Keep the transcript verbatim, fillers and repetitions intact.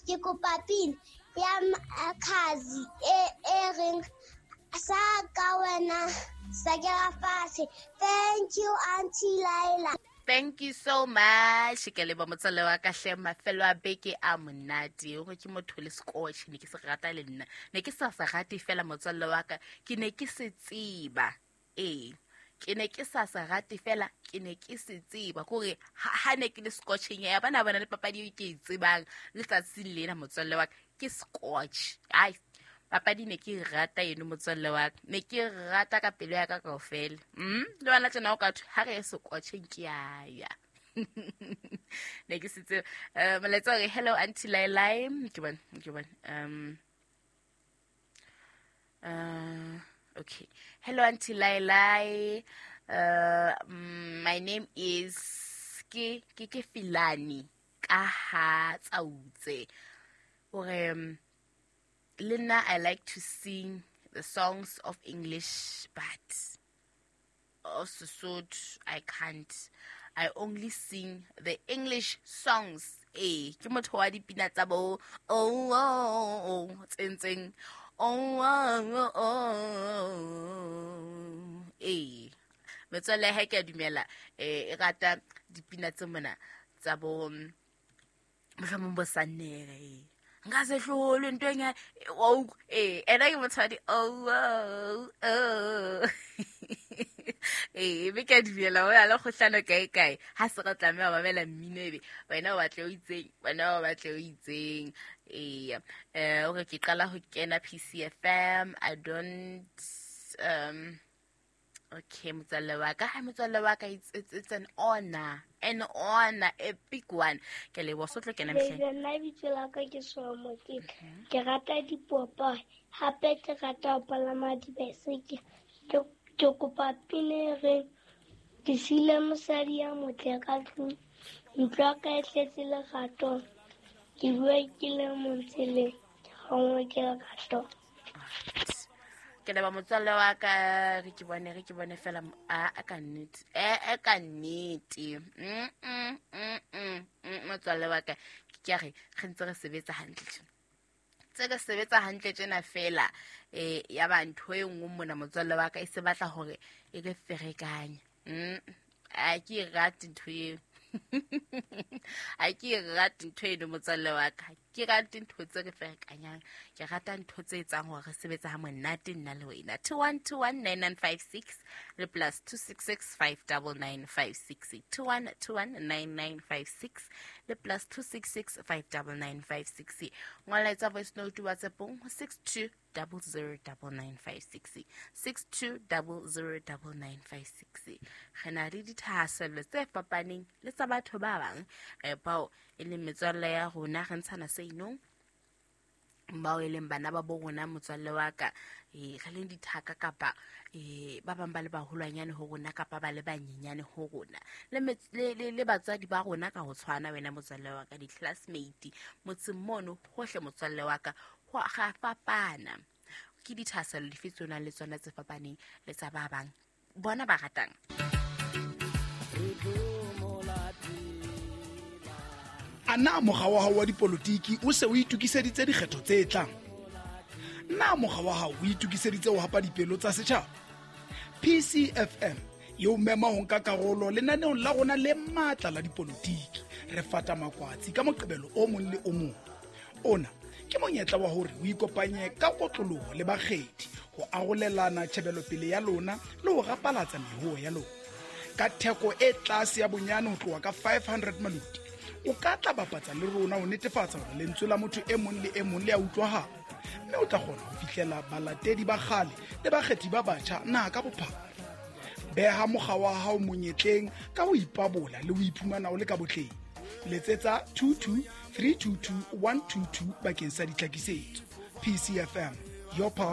Ke kopa pina ya Makhadzi e e reng sa ka wena sa ke fatshe. Thank you, Auntie Laila. Thank you so much. Ke leboha motswalle wa ka hle, mafelo a beke a monate. Hore ke motho le scotch ne ke se rata le nna. Ne ke sa se rate fela motswalle wa ka, ke ne ke se tseba. Ee, ke ne ke sa se rate fela, ke ne ke se tseba. Kore ha ne ke le scotcheng ya bana bana le papadi eo ke e tsebang letsatsing lena motswalle wa ka, ke scotch. Ai, papadi ne ke rata eno motswalle wa ka, ne ke rata ka pelo ya ka kaofela. Mm, le wena tjena o ka thwe ha re ye scotcheng ke a ya. Ne ke se tseba. Eh, molaetsa o re, hello Auntie Lailai. Ke bone, ke bone. Um, uh, okay. Hello Auntie Lailai. Uh, my name is ke ke ke Filani ka ha Tsautse. Ore um, le nna I like to sing the songs of English, but of Sesotho I can't. I only sing the English songs. Eh, ke motho wa dipina tsa bo oh oh oh tsentseng oh oh oh. Eh, metswalle ha ke a dumela, eh, e rata dipina tse mona tsa bo mohlomong bo Sannere. Nka se hlolwe ntho e nngwe, oh, eh, ena ke motho wa di oh oh oh. Eh, be ke a dumela ho na le kgohlano kae kae. Ha se re tlameha ho mamela mmino ebe wena o batle o itseng, wena o batle o itseng. Eh, eh, o re ke qala ho kena P C F M. I don't, um, okay, motswalle wa ka. Hi, motswalle wa ka, it's, it's, it's an honor. An honor, a big one. Ke leboha, so tlo kena mehleng. Baby, nna bitso la ka ke Somo, ke, ke rata dipopae, hape ke rata ho palama dibaesekele. Ke, ke kopa pina e reng, ke siile mosadi ya motle ka tlung, ntlo ya ka e tletse lerato, ke bua ke le mong tseleng, ke kgangwe ke lerato. Ke leboha motswalle wa ka, re ke bone, re ke bone fela mo-, a, a ka nnete. E, e ka nnete. Mm, mm, mm, mm, mm, motswalle wa ka, ke a re, re ntse re sebetsa hantle tjena. Tse re sebetsa hantle tjena fela, eh, ya ba ntho e nngwe mona motswalle wa ka e se batla hore e re ferekanye. Mm, a ke e rate ntho eo. Ha ke e rate ntho eno motswalle wa ka. Ke rate ntho tse re ferekanyang. Ke rata ntho tse etsang hore re sebetse ha monate nna le wena. two one two one nine nine five six le plus two six six five double nine five six. two one two one nine nine five six le plus two six six five double nine five six. Ngola etsa voice note WhatsApp-ong ho six two double zero double nine five six. six two double zero double nine five six. Re na le dithahasello tse fapaneng le tsa batho ba bang, eh, bao e leng metswalle ya rona, re ntshana se inong, bao e leng bana ba bo rona motswalle wa ka, eh, re leng dithaka kapa, eh, ba bang ba le baholwanyane ho rona kapa ba le banyenyane ho rona, le mets-, le, le, le batswadi ba rona ka ho tshwana wena motswalle wa ka, di-classmate motseng mono hohle motswalle wa ka, ho a ga fapana. Ke dithahasello dife tseo nang le tsona tse fapaneng le tsa ba bang bona ba ratang? A na mokga wa hao wa dipolotiki o se o itokiseditse dikgetho tse tlang? Na mokga wa hao o itokiseditse ho hapa dipelo tsa setjhaba? P C F M e o mema ho nka karolo lenaneong la rona le matla la dipolotiki. Re fata makwatsi ka Moqebelo o mong le o mong. Ona ke monyetla wa hore o ikopanye ka kotloloho le bakgethi ho arolelana tjhebelopele ya lona le ho rapalatsa mehoo ya lona. Ka theko e tlase ya bonyane ho tloha ka five hundred maloti, o ka tla bapatsa le rona ho netefatsa hore lentswe la motho e mong le e mong le a utlwahala, mme o tla kgona ho fihlela balatedi ba kgale le bakgethi ba batjha naha ka bophara. Beha mokga wa hao monyetleng ka ho ipabola le ho iphumana o le ka botleng. Letsetsa two two three two two one two two bakeng sa ditlhakisetso. P C F M, your power.